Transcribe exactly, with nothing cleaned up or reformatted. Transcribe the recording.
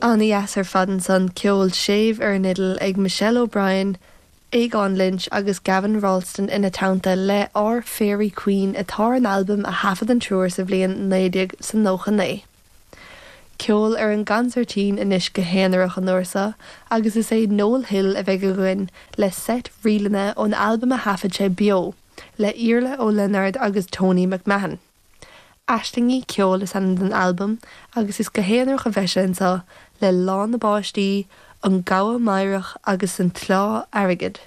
An-dheas ar fad ansan ceol séimh ar an fhidil ag Michelle O'Brien, Aogán Lynch agus Gavin Ralston ina teannta le Our Fairy Queen atá ar an albam a thaifead an triúr sa bhliain naoi déag is nócha naoi. Ceol ar an gconsairtín anois go haonarach an uair seo agus is é Noel Hill a bheidh againn le seit ríleanna ón albam a thaifead sé beo le Iarla Ó Lionáird agus Tony McMahon. Aislingí Ceoil is ainm don albam agus is go haonarach a bheidh sé anseo le Lá na bPáistí, An Gabha Meidhreach agus an tSleá Airgid.